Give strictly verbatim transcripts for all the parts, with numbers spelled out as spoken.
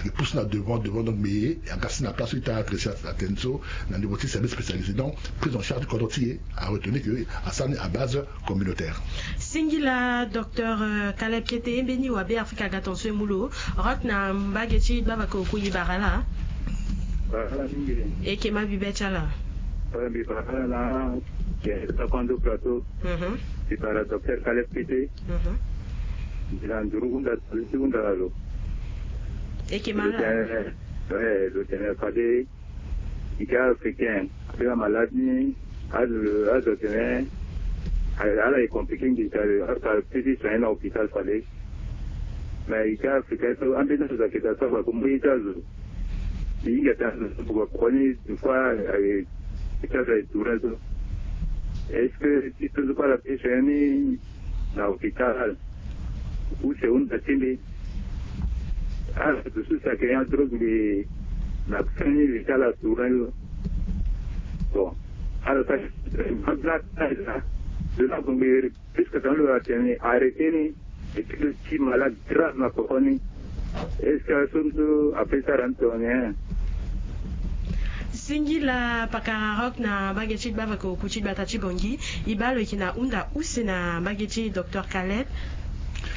e pousse na devant devant, donc mais e aga si na place so e tara adresse atene so na niveau ti service spécialisé. Donc prise en charge ti kodro ti e a retenu que asara ni à base communautaire. Singila docteur Caleb Kete, mbeni wa Be Afrika aga tonso e mu lo. Rock na mbage ti gbavaka oku, i bara laa? Eke ma bibe ti ala. Mbi bara na Sakondo Plateau. Mbi bara docteur Caleb Kete. Mbi na nduru hunda ti hunda na lo. Eke ma laa? Lo tene fade i ke africain, ape na malade ni. Azo tene ala e compliqué nginza lo, azo tara peti soigné na hôpital fade. Mais i ke africain so ambeni azo ayeke daa so afa ko mu ye ti azo. I hinga tene azo so kua koni des fois ti azo aye tourné so. Est-ce que ti so so kue ala peti soigné ni na hôpital? Use hunda ti mbi. Ala dusu si ayeke nyen adrogue mbi na kani li ti ala tourné lo. Bon, ala sara de la bongbe. Puisque tongana lo atene arrêté ni et puis lo ti malade grave na koko ni, est-ce que aso so ape sara ni tongana nyen? Singila pakara Rock na mbage ti gbavaka oku ti gbata ti Bangui. I baa lo yeke na hunda use na mbage ti docteur Caleb.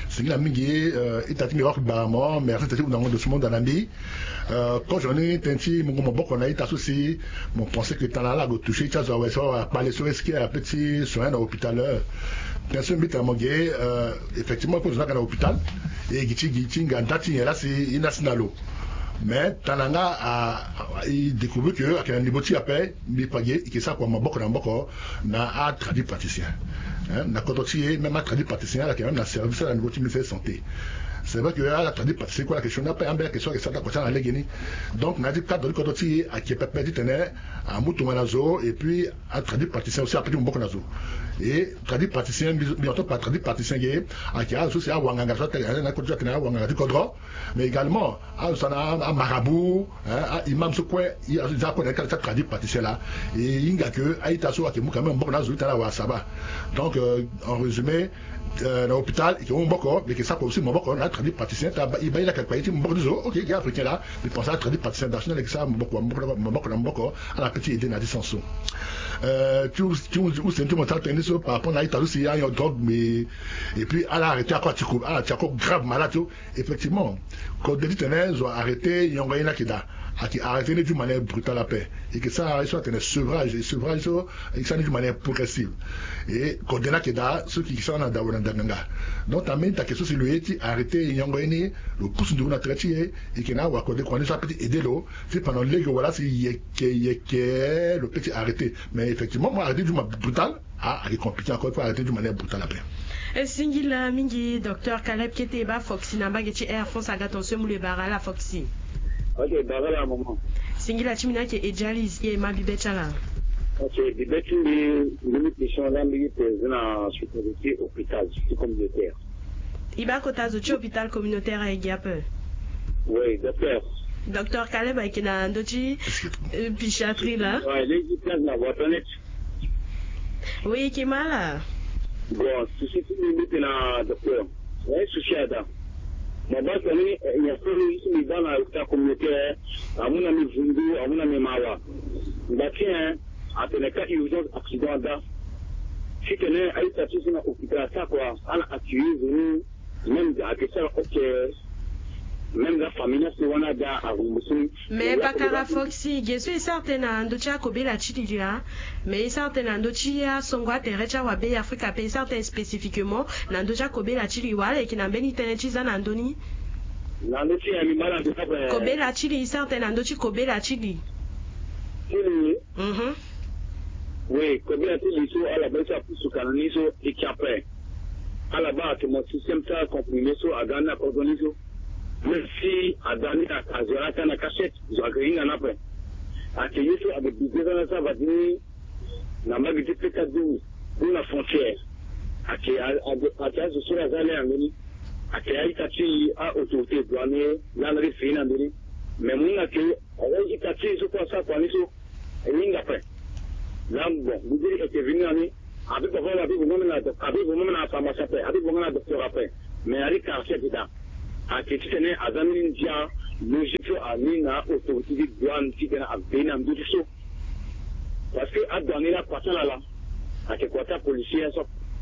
Singila mingi. Ita ti mbi Rock Baramo, merci ti hundango ndo so mo hunda na mbi. Kozo ni tënë ti mungo maboko na ita so si mo pense que tana ala gue touché ti azo awe so akpale so est-ce que ape ti soigné na hôpital? Tënë so mbi tene mo ge, effectivement ape zo ni ayeke na hôpital. E gi ti gi ti hinga nda ti nyen laa si e na si na lo. Mais tana nga a, e découvrir que ayeke na niveau ti e ape. Mbi pa ge e ke sara kua maboko na maboko na atradi praticien. Na kodro ti e même atradi praticien ala yeke même na service ala niveau ti ministère santé. C'est vrai que ala tradi praticien kue ala yeke sioni ape ambeni ayeke so ayeke sara ti akua ti ala na legeni. Donc na ya ti cadre ti kodro ti e ayeke pepe titene amu tongana zo et puis atradi praticien aussi ape ti maboko na zo. Et tradi praticien mbi, mbi entend par tradi praticien ge ayeke azo so si awanganga so atene na kodro ti atene awanganga ti kodro. Mais également azo so na amarabout, aimam so kue, azo za kue na ye kala ti atradi praticien laa. E hinga ke a-ita so ayeke mu quand même maboko na azo ti tene ala wara saba. Donc en résumé, na hôpital e ke mu maboko, mais e ke sara kua aussi maboko na atradi praticien ti e baa e laa ayeke kpa ye ti maboko ti zo. Ok, ge africain laa, mbi pense atradi praticien national e ke sara maboko, maboko na maboko ala pe ti aidé na ya ti sens so. Ti use ti mo sara tënë ni so par rapport na a-ita so si ayon drogue, mais et puis ala arrêté ako ati ko, ala ti ako grave malade so. Effectivement, kode titene zo arrêté yongo ye ni ayeke daa. Ayeke arrêté ni d'une manière brutale ape. E ke sara ye so atene sevrage, et sevrage so e ke sara ni d'une manière progressive. Et kode ni ayeke daa so e ke sara na dawa na ndanganga. Donc tambeni ta ke so si lo ye ti arrêté yongo ye ni, lo pusu nduru na tere ti e. E ke na awakode kua ni so ape ti aidé lo ti pendant lege wala si yeke yeke lo pe ti arrêté. Mais effectivement mo arrêté d'une manière brutale. Ah, ayeke compliqué encore, il faut arrêter d'une manière brutale après. E singila mingi docteur Caleb Kete, e baa Foxy na mbage ti Air France aga tonso e mu lo, e bara ala Foxy. Ok, bara ala maman. Singila ti mbi ni ayeke Ejalis, e ma bibe ti ala. Ok, bibe ti mbi, mbi ni question laa mbi yeke président na spécialité hôpital ti communautaire. E baa kota zo ti hôpital communautaire ayeke gi ape? Oui, docteur. Docteur Caleb ayeke na ndö ti psychiatrie laa. Oui, lezi place na voiture net. Oui, e ke ma ala. Bon, souci ti mbi mbi tene na docteur, na ye souci ada. Mo baa tene, eh, nyen so mbi baa na hôpital communautaire, amu na mbi vundu, amu na mbi mawa. Ngba ti nyen? Atene ka urgence accident ada. Titene a-ita ti so na hôpital asara kua, ala accueillir zo ni. Même ayeke sara ok. Même la famille na so wani ada arembourser ni. Mais pakara Foxy, ge so e sara tënë na ndö ti akobela ti li laa. Mais e sara tënë na ndö ti asongo atere ti awa Be Afrika ape, e sara tënë spécifiquement na ndö ti akobela ti li, wala e yeke na mbeni tënë ti za na ndö ni? Na ndö ti nyen? Mbi ma na ndö ti ape. Kobela ti li, e sara tënë na ndö ti kobela ti li. Ti li. Mhm. Oui, kobela ti li so ala baa so apusu ka na ni so e ke ape. Ala baa ayeke mo système ti acomprimé so aga ni na kodro ni so. Même si aga ni azo laa ka na cachette, zo ayeke hinga ni ape. Ayeke ye so ayeke bidé so na sara fade ni na mbage ti P K douze ou na frontière. Ayeke a, a, ayeke azo so laa aza le na ndö ni. Ayeke a-ita ti a-autorité douanier laa na li fini na ndö ni. Mais mo hinga ke a-ita ti e so kue asara kua ni so. E hinga ape. Laa bon, mbi di e yeke vini na ni. Abi bavon, abi bongo na doc-, abi bongo na pharmacie ape, abi bongo na docteur ape. Mais ari quartier ayeke daa. Ayeke titene aza mbeni ndia logique. Autorité ti douane ti tene aveni na ndö ti so. Parce que adouane ni akua ti ala laa, ayeke kua ti apolisi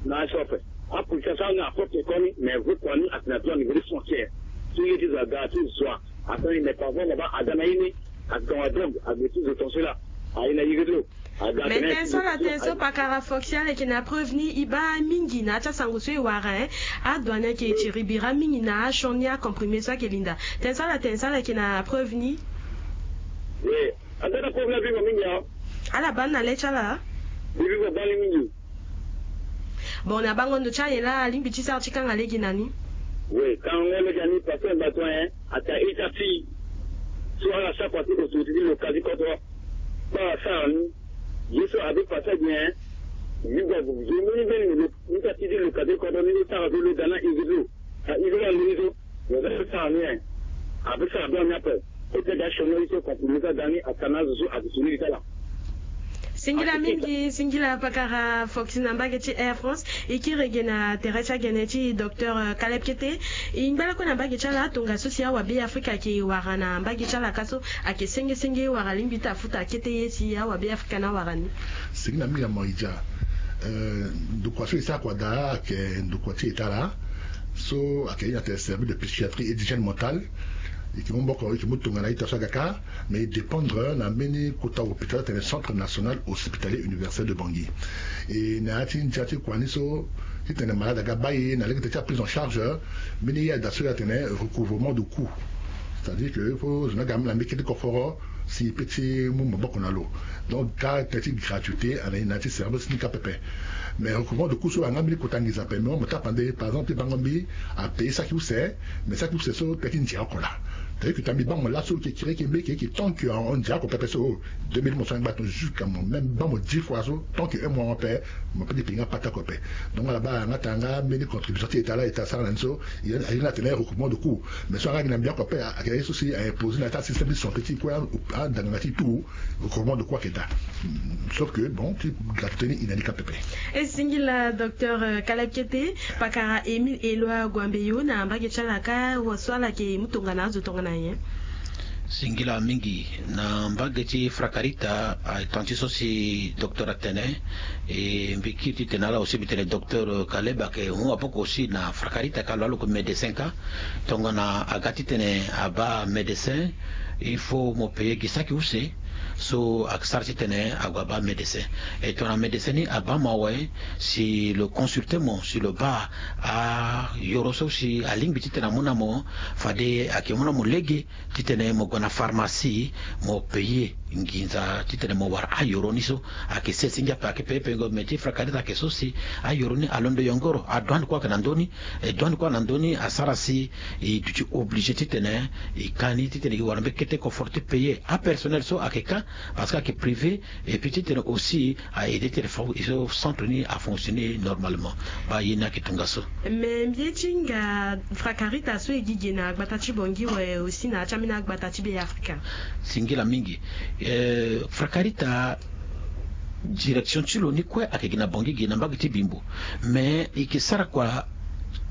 na so ape. Apolisi asara ni na propre koni, mais vo kua ni atene na douane niveau de frontière. So ye ti zo aga ti zo a asara ni, mais parfois na baa aga na ye ni, aga wa donc aga ti zo tonso laa. Aye na ye ti lo. Mais tene so ala tene so pakara Foxy ala yeke na preuve ni, e baa mingi na ya ti asango so e wara, hein. Adouane ayeke tiri bira mingi na asioni acomprimé so ayeke linda. Tene so ala tene so ala yeke na preuve ni. We, aga na preuve ni avivo mingi a. Ala baa ni na le ti ala. Vivo baa ni mingi. Bon, na bango ndo ti aye laa alingbi ti sara ti kanga lege na ni. We, kangango lege na ni parce que mbato, hein, ata ita ti so ala sara kua ti autorité ti local ti kodro. Baa asara ni. Ye so abi passage ni, hein. Ni baa zo ni mbeni lo ni ka ti di lo ka ti kodro ni lo tara zo lo ga na izi zo. A izi la lo ni zo. Lo za so tara ni, hein. Abi sara bien ni ape. E te ga siono ye so compromis ka ga ni ata na azo so abi soni li tala. Singila mingi, singila pakara Foxy na mbage ti Air France. E kiri ge na tere ti agene ti docteur, euh, Caleb Kete. E ngba lakue na mbage ti ala tongaso si awabe Afrika ayeke wara na mbage ti ala ka so. Ayeke senge senge wala alingbi ti afuta akete ye si awabe Afrika ni awara ni. Singila mingi na Maïdja. Euh, ndokua so e sara kua daa ayeke ndokua ti eta laa. So ayeke ye na tene service de psychiatrie et d'hygiène mentale. E yeke mu maboko, e yeke mu tongana ita so aga kâ, mais e dépendre na mbeni kota hôpital atene Centre National Hospitalier Universitaire de Bangui. E na ya ti ndia ti kua ni so, titene malade aga baa e na lege ti aprise en charge, mbeni ye ada so e atene recouvrement de coût. C'est-à-dire que fo zo ni aga na mbeni kete koforo si e peut ti mu maboko na lo. Donc kâ tene ti gratuité ala ni na ya ti service ni kâ pepe. Mais recouvrement de coût so ayeke nga mbeni kota nginza ape, mais mo tapande par exemple ti bango mbi apaye saki use, mais saki use so tene ti ndia oko laa. C'est-à-dire que tene mbi baa mo laso e yeke kiri e yeke mbi e yeke tant que ahon ndia oko pepe so, deux mille mo so angba ton jusqu'à mo même baa mo dix fois so tant que un mois ape, mo peut ti paye nga pata oko ape. Donc ala baa nga tara nga mbeni contribution ti eta laa, eta sara na ni so. Aye ni atene recouvrement de coût. Mais so aga gi na mbi oko ape ayeke ye so si a imposer na ya ti asystème ti santé ti e kue, andangana ti e tout. Recouvrement de coût ayeke daa. Sauf que bon ti gratuité ni e na ni kâ pepe. E singila docteur, euh, Caleb Kete. Pakara Émile Éloi Guambeyo na mbage ti ala kâ, wa so ala yeke mu tongana azo tongana nyen? Singila mingi. Na mbage ti Frakarita, a temps ti so si docteur atene, e mbi kiri titene ala aussi mbi tene docteur Caleb ayeke hon maboko aussi na Frakarita kâ lo alo ko médecin kâ. Tongana aga titene abaa médecin, il faut mo payer gi saki use so asara titene ague abaa médecin. E tongana médecin ni abaa mo awe, si lo consulter mo, si lo baa ayoro so si alingbi titene amu na mo, fade ayeke mu na mo lege titene mo gue na pharmacie, mo payer nginza titene mo wara ayoro ni so. Ayeke sese ngia ape, ayeke pepe ngo, mais ti Frakarita ayeke so si ayoro ni alondo yongoro, adouane kue ayeke na ndö ni. E douane kue na ndö ni asara si e duti obligé titene e ka ni titene e wara mbeni kete koforo ti payer apersonnel so ayeke kâ, parce que ayeke privé. Et puis titene aussi a aider titene fo e so centre ni afonctionner normalement. Baa ye ni ayeke tongaso. Mais mbi ye ti hinga Frakarita so e gi ge na gbata ti Bangui, we aussi na ya ti ambeni agbata ti Beafrika. Singila mingi. Eh, Frakarita, direction ti lo ni kue ayeke gi na Bangui, gi na mbage ti Bimbo. Mais e yeke sara kua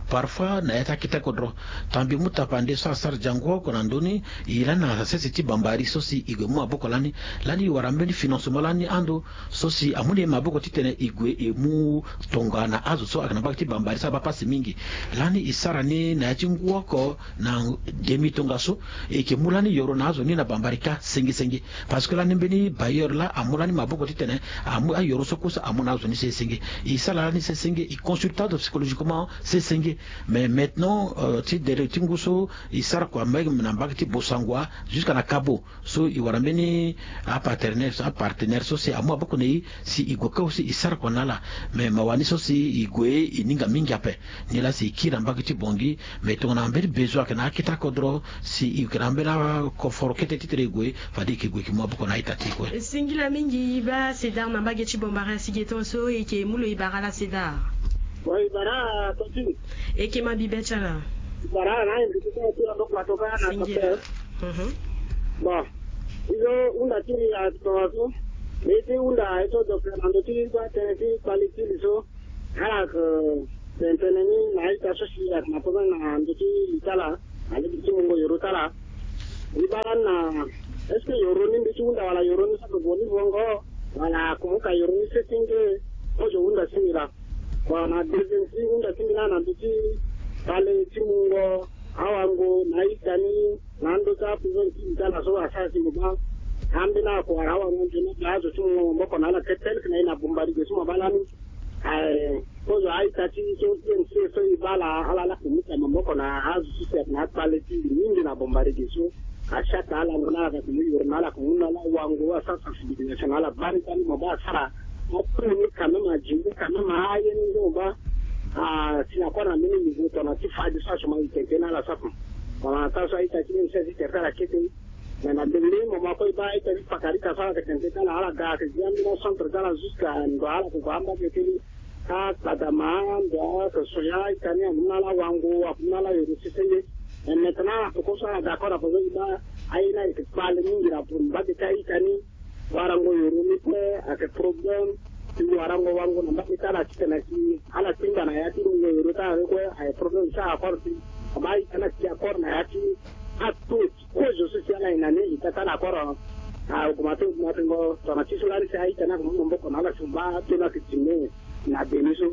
parfois na ya ti akete kodro. Tongana mbi mu tapande so asara jango oko na ndö ni, e lani na sese ti bambari so si e gue mu maboko lani. Lani e wara mbeni financement lani ando so si amu na e maboko titene e gue e mu tongana azo so ayeke na mbage ti bambari so abaa pasi mingi. Lani e sara ni na ya ti ngu oko na demi tongaso, e yeke mu lani yoro na azo ni na bambari kâ senge senge. Parce que lani mbeni bailleur laa amu lani maboko titene amu ayoro so kue so amu na azo ni senge senge. E sara lani senge senge, e consulter azo psychologiquement senge senge. Mais maintenant, euh, ti dere ti ngu so e sara kua même na mbage ti Bossangoa jusqu'à na Kabo. So e wara mbeni apartenaire so, apartenaire so si amu maboko na e si e gue kâ aussi e sara kua na ala. Mais mawa ni so si e gue e hinga mingi ape. Ni laa si e kiri na mbage ti Bangui, mais tongana mbeni besoin ayeke na akete akodro, si e yeke na mbeni akoforo kete titene e gue, fade e yeke gue e yeke mu maboko na a-ita ti e kue. Singila mingi. E baa César na mbage ti Bambara, si ge tongaso e yeke mu lo, e bara ala César. Bon, e bara Tontine. E yeke ma bibe ti ala. E bara ala na invité ti ala ti ando plateau kâ na. Singila. Docteur. Mhm. Bon, e zo hunda ti e atongaso. Mbi ye ti hunda e so docteur na ndö ti gbaa tënë ti kpali ti li so. Ala yeke tene tënë ni na a-ita so si ayeke na problème na ndö ti li ti ala, na lege ti mungo yoro ti ala. E baa lani na Est-ce que yoro ni mbi ti hunda wala yoro ni so ake gue ni vongo, wala akumuka yoro ni sese nge? Kozo hunda si mbi laa. Bon, na deuxième ti hunda ti mbi laa na mbi ti kpale ti mungo awango na ita ni na ando ti aprison ti mbi ti ala so asara ti mbi baa. Ambeni ako wara awango nzoni azo ti mungo maboko na ala ke tel ke na e na bombardier so mo baa lani. Ae, kozo a-ita ti so I N C so e baa ala, ala lakue mu ka maboko na azo ti sere na akpale ti mbi mingi na bombardier so. Asiata ala ngu na ala ka ke mu yoro na ala ka mu na ala wango asara sensibilisation na ala bari bari mo baa asara. Apre ni quand même adi ni quand même aye ni ngu mo baa. Ah, si na kue na mbeni niveau tongana ti fadi so asuma e tene tene na ala sara. Tongana taa so a-ita ti I N C ti tere ti ala kete. Mais na ndembe ni mo ma kue e baa a-ita ti pakari ka so ala ke tene tene ti ala, ala ga ayeke zi ambeni acentre ti ala jusqu'à ndo ala ke gue ambage ti ni. Akpadama ndo ala ke so ya a-ita ni amu na ala wango, amu na ala yoro sese nde. Mais maintenant ala peko so ala d'accord ape so e baa aye ni ayeke kpale mingi na mbage ti a-ita ni. Warango yoro ni kue ayeke problème. Ti warango wango na mbage ti ala titene si ala tingba na ya ti mungo yoro ti ala ni kue ayeke problème ti accord ti. Aba a-ita ni ayeke accord na ya ti ato ti kozo so si ala yeke na ni ita ti ala accord. Augmenté, augmenté ngo tongana ti so lani si a-ita ni ayeke mu maboko na ala si mo baa ato ni ayeke diminué na demi so.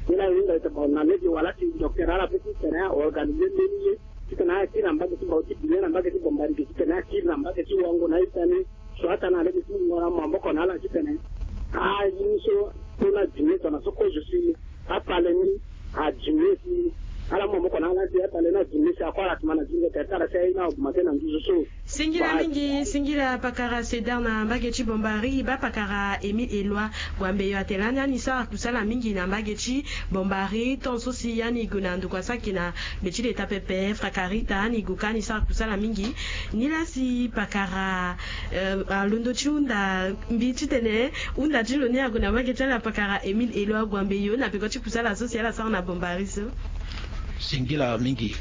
Ni laa e hunda ita bon na lege wala ti docteur ala pe titene a organisé mbeni ye titene akiri na mbage ti bau ti bine na mbage ti bombardier titene akiri na mbage ti wango na ita ni. So ata na lege ti mo na maboko na ala titene aye ni so to na diminué tongana so kozo si akpale ni adiminué si ala mu maboko na ala si akpale ni adiminué si akue ala tuma na zingo tere ti ala si aye ni augmenté na nduzu so. Singila mingi, singila pakara Cedar na mbage ti Bombari, e baa pakara Émile Éloi Guambeyo atene lani ani sara kusala mingi na mbage ti Bombari, tant so si ani gue na ndokua so ayeke na mbe ti leta pepe, Frakarita, ani gue ka ani sara kusala mingi. Nilaa si pakara, eh, alondo ti hunda mbi titene hunda ti lo ni ague na mbage ti ala pakara Émile Éloi Guambeyo na peko ti kusala so si ala sara na Bombari so. Singila mingi.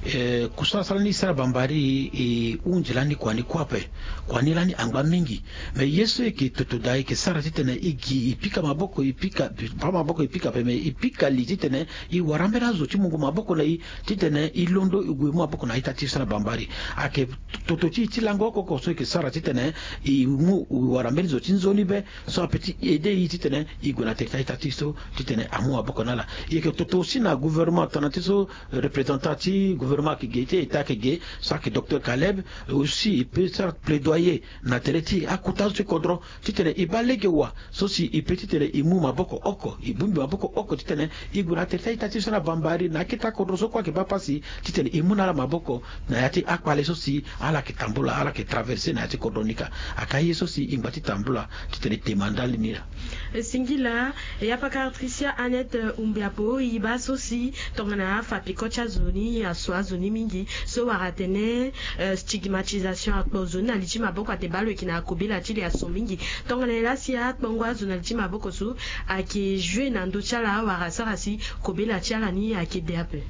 Eh, kusala so lani e sara Bambari e hunzi lani kua ni kue ape. Kua ni lani angba mingi. Me ye so e yeke toto daa e yeke sara titene e gi e pika maboko e pika pika maboko e pika ape me e pika li titene e wara ambeni azo ti mungo maboko na e titene e londo e gue e mu maboko na a-ita ti e so na Bambari. Ayeke toto ti e ti lango oko oko so e yeke sara titene e mu e wara mbeni zo ti nzoni be so ape ti aidé e titene e gue na tere ti a-ita ti e so titene amu maboko na ala. E yeke toto aussi na gouvernement tongana ti so représentant ti gouvernement ayeke ge ti état ayeke ge so ayeke docteur Caleb. Aussi e peut sara plaidoyer na tere ti akota zo ti kodro titene e baa lege wa so si e peut titene e mu maboko oko e bongbi maboko oko titene e gue na tere ti a-ita ti e so na Bambari na akete akodro so kue ayeke baa pasi titene e mu na ala maboko na ya ti akpale so si ala yeke tambula ala yeke traversé na ya ti kodro ni ka. Ayeke aye so si e ngba ti tambula titene e tema ndali ni laa. E singila. E ya pakara Tricia Annette, eh, Umbiapo, e baa so si tongana afa peko ti azo ni aso azo ni mingi so wara atene, eh, stigmatisation akpo zo ni na li ti maboko atene baa lo yeke na kobela ti li aso mingi. Tongana nyen laa si akpongo azo na li ti maboko so ayeke joué na ndö ti ala wala asara si kobela ti ala ni ayeke de ape?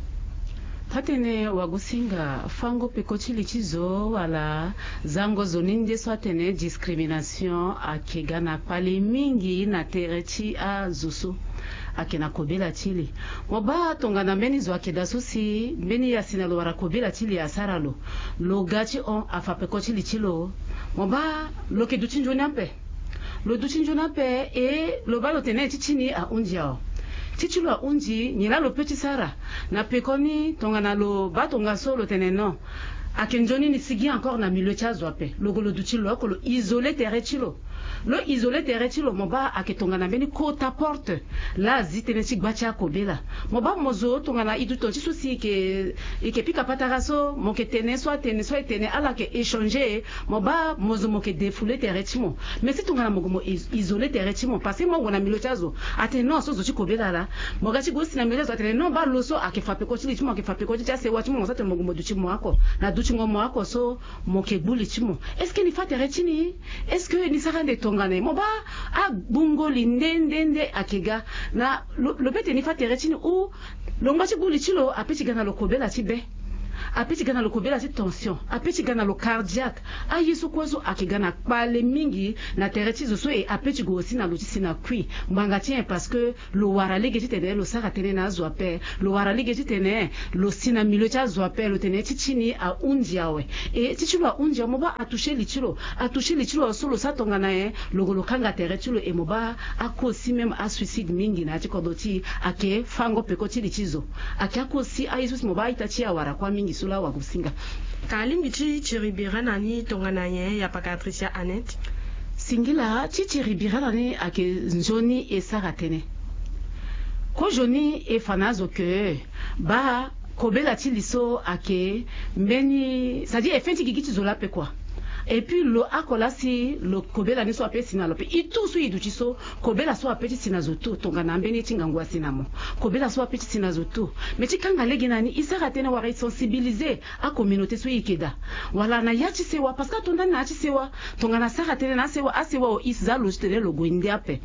Atene wagosinga fango peko ti li ti zo wala zango zo ni nde so atene discrimination ayeke ga na kpale mingi na tere ti azo so ayeke na kobela ti li. Mo baa tongana mbeni zo ayeke daa so si mbeni ya si na lo wara kobela ti li asara lo, lo ga ti hon afa peko ti li ti lo, mo baa lo yeke duti nzoni ape. Lo duti nzoni ape e lo baa lo tene ti ti ni ahunzi awe. Ti ti lo ahunzi nyen laa lo peut ti sara? Na pekoni tongana lo baa tongaso lo tene non, ayeke nzoni ni sigi encore na milieu ti azo ape, lo gue lo duti lo oko lo isolé tere ti lo. Lo isolé tere ti lo mo baa ayeke tongana mbeni kota porte laa azi tënë ti gba ti akobela. Mo baa mo zo tongana e duti ti so si e yeke, e yeke pika patara so mo yeke tene so atene so e tene ala yeke échanger. Mo baa mo zo mo yeke défoulé tere ti mo. Mais si tongana mo gue mo is- isolé tere ti mo parce que mo gue na milieu ti azo atene non so zo ti kobela laa. Mo ga ti gue si na milieu ti azo atene non baa lo so ayeke fa peko ti li ti mo ayeke fa peko ti ti asewa ti mo mo so atene mo gue mo duti mo oko na dutingo mo oko so mo yeke gbu li ti mo. Est-ce que ni fa tere ti ni? Est-ce que ni sara ande tongana nyen? Mo baa agbungo li nde nde nde ayeke ga na lo, lo peut ti ni fa tere ti ni ou lo ngba ti gbu li ti lo ape ti ga na lo kobela ti be. Ape ti ga na lo kobela ti tension, ape ti ga na lo cardiaque. Aye so kue so ayeke ga na kpale mingi na tere ti zo so, e ape ti gue aussi na lo ti si na kui ngbanga ti nyen? Parce que lo wara lege titene lo sara tënë na azo ape. Lo wara lege titene lo si na milieu ti azo ape, lo tene ti ti ni ahunzi awe. E ti ti lo ahunzi awe, mo baa atoucher li ti lo. Atoucher li ti lo so lo sara tongana nyen? Lo gue lo kanga tere ti lo. E mo baa akosi même asuicide mingi na ya ti kodro ti e ayeke fango peko ti li ti zo. Ayeke akosi aye so si mo baa a-ita ti e awara kuâ mingi so laa awagosinga. Ka alingbi ti tiri bira na ni tongana nyen, ya paka Patricia Annette? Singila, ti tiri bira na ni ayeke nzoni e sara tënë. Kozoni e fa na azo ke baa kobela ti li so ayeke mbeni, c'est-à-dire e fê ti gigi ti zo laa ape kua. Et puis lo oko laa si lo kobela ni so ape si na lo ape. E tout so e duti so, kobela so ape ti si na zo tout. Tongana mbeni ye ti ngangu asi na mo, kobela so ape ti si na zo tout. Mais ti kanga lege na ni, e sara tënë wala e sensibiliser acommunauté so e yeke daa, wala na ya ti sewa, parce que ato ndani na ya ti sewa. Tongana asara tënë na asewa, asewa o, e za lo titene lo gue nde ape.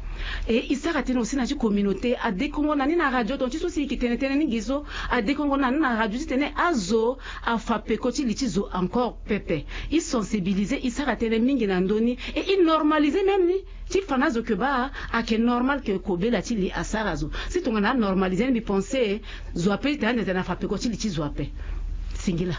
E e sara tënë aussi na ti communauté, adekongo na ni na radio, ton ti so si e yeke tene tënë ni gi so, adekongo na ni na radio titene azo afa peko ti li ti zo encore pepe. E sensibiliser, e sara tënë mingi na ndö ni. E e normaliser même ni, ti fa na azo ke baa ayeke normal ke kobela ti li asara zo. Si tongana anormaliser ni, mbi pense zo ape titene ande titene afa peko ti li ti zo ape. Singila.